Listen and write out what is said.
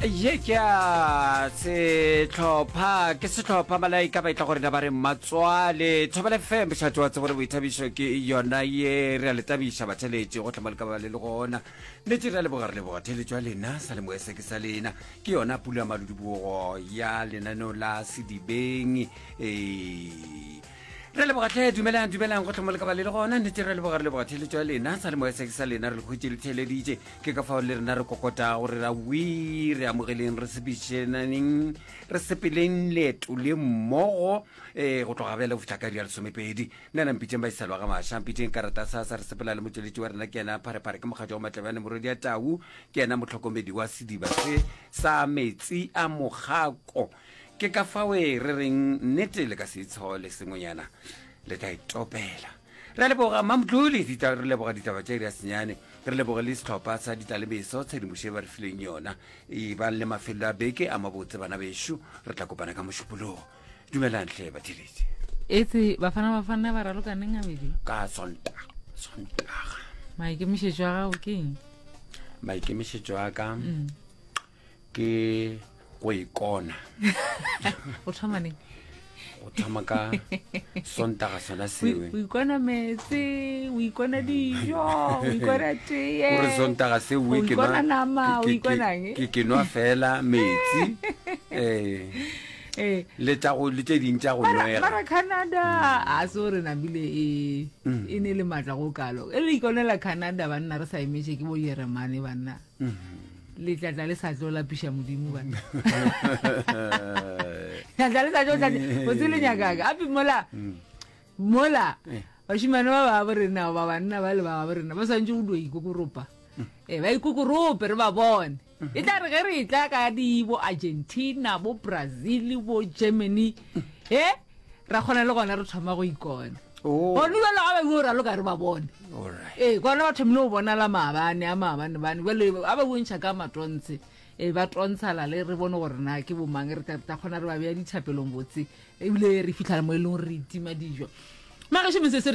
Ye ke a sehlopha, ke sehlopha malaika ba etla go rena ba re mmatswale. Thobela FM, mošate wa tsebo le boithabišo ke yona ye re a le tabiša batheletši go hlama le ka ba le le gona. Nnete re a leboga re leboga theletšo ya lena sa le moese ke sa lena. Ke yona pula ya maludibogo ya lenaneo la Sedibeng. Ee. Re leboga tlhe dumelang dumelang go tlhomo le ka ba le le gona nnete re leboga re leboga theletšo ya lena sa le moese ke sa lena re le hwetše le theleditše ke ka fao le rena re kokotago re ra wi re amogeleng re sepedišaneng re sepeleng leeto le mmogo um go tloga bjale go fihla ka iri ya lesomepedi nna na mpitšeng ba iselwa ga maša mpitšeng karata sa sa re sepela le motšweletši wa rena ke yena pharephare ke mokgatšo wa matlebane morwedi ya tau ke yena mohlokomedi wa sediba se sa metsi a mogako Ke ka fawe re reng nnete le ka se itshole sengwenyana le tla itopela. Re a leboga Mamdluli dita re leboga ditaba tša iri ya senyane re leboge le sehlopha sa ditlalemeso tshedimošo e ba re fileng yona. E bang le mafelo a beke a mabotse bana bešo re tla kopana ka mošupologo. Dumelang hle batheletši. Etse Bafana Bafana ba raloka neng gabedi? Ka Sontaga. Sontaga. Maikemišetšo a gago ke eng? Maikemišetšo a ka. Mm. Ke go ikona. O thoma neng? Go thoma ka Sontaga sona sewe. O ikona meetse, o ikona dijo, o ikona teye. Gore Sontaga sewe ke nwa nama, o ikona eng? Ke ke nwa fela metsi. Eh. Eh. Le tša go le tše ding tša go nwega. Mara Canada a se gore nabile e mm. e ne le matla go kalo. E le ikonela Canada banna re sa emetše ke bo Jeremane banna. Le tla tla le sa tlo lapiša Modimo banna. Tla tla le sa tlo tla o tse le nyakaka. Ape mola mola Eh. bašimane ba ba bo rena ba banna ba le ba bo rena ba swantse go dio ikokoropa. Eh ba ikokorope re ba bone. E tla re ge re tla ka di bo Argentina, bo Brazil, bo Germany, eh ra kgona le gona re thoma go ikona. Oh. Gone jalo ga ba bue raloka re ba bone. Alright. Ee, kwana ba thomile go bonala maabane a maabane bane jale a ba bontšha ka matontshe e ba tontshala le re bone gore na ke bomang re tla tla kgona re ba beya dithapelong botse ebile re fitlhela mo e leng gore re itima dijo magešo metsotso.